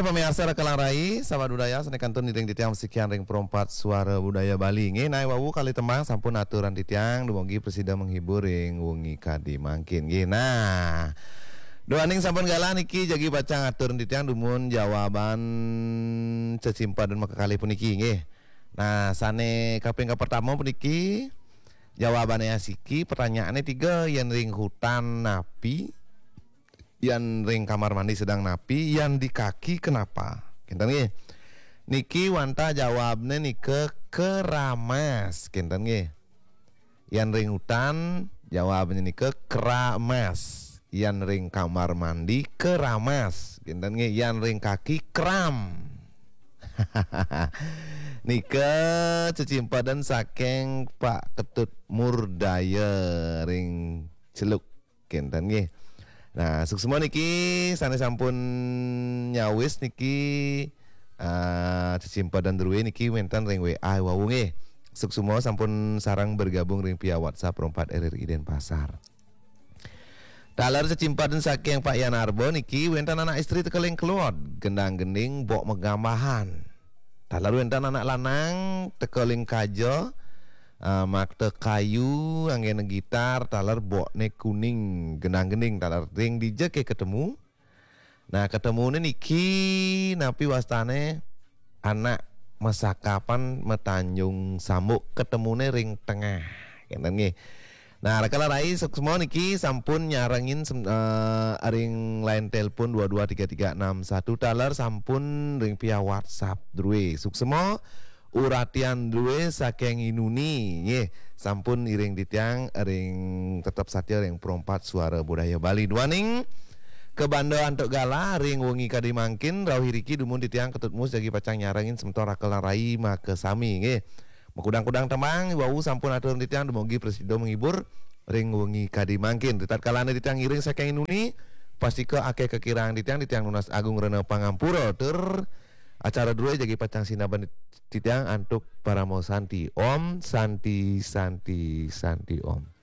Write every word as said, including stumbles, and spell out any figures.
Pamiarsa Raka lan Rai, sahabat budaya, sané kantun ngiring titiang masikian ring Perempat Suara Budaya Bali. Nggih, nah, wau kalih tembang sampun aturan titiang, dumugi prasida menghibur ring wengi kadi mangkin. Nggih, nah. Duaning sampun galah niki jagi pacang atur titiang dumun jawaban cecimpedan makakalih puniki, nggih. Nah, sané kaping kapertama puniki jawabané asiki, pertanyaanné tiga, yén ring hutan napi, yén ring kamar mandi sedeng napi, yén di kaki kenapa? Kénten nggih. Niki wantah jawabné nika keramas, kénten nggih. Yén ring hutan, jawabné nika keramas. Yén ring kamar mandi, keramas. Kénten nggih, yén ring kaki, kram. Nika cecimpedan saking Pak Ketut Murdaya ring Celuk. Kénten nggih. Nah, suksma niki sané sampun nyawis niki, ah, cecimpedan drué niki wénten ring W A wau nggih. Suksma sampun sareng bergabung ring via WhatsApp Perempat R R I Denpasar. Taler cecimpedan saking Pak Yan Arba niki wénten anak istri teka ling kelod, gendang-gending, bok megambahan. Taler wénten anak lanang teka ling kaja, ah, makta kayu, anggéna gitar, taler bokné kuning, gendang-gending, taler ring dija ké ketemu. Nah, ketemuné niki napi wastané anak masakapan matanjung sambuk, ketemuné ring tengah. Kénten nggih. Nah, Raka lan Rai suksma niki sampun nyarengin sem-, eh, ring line telepon dua dua tiga tiga enam satu, taler sampun ring via WhatsApp drué. Suksma, uratian drué saking Inuni, nggih, sampun iring titiang ring tetep satia ring Perempat Suara Budaya Bali. Duaning kabanda antuk galah ring wengi kadi mangkin, rauh iriki dumun titiang Ketut Mus jagi pacang nyarengin semeton Raka lan Rai makasami, nggih. Makudang-kudang tembang, wau sampun atur titiang dumugi prasida menghibur ring wengi kadi mangkin. Ritatkalané titiang ngiring saking Inuni, pastika akéh kakirang titiang, titiang nunas agung rena pangampura. Tur acara drué jagi pacang sinebang titiang antuk parama santi. Om Santi, Santi, Santi Om.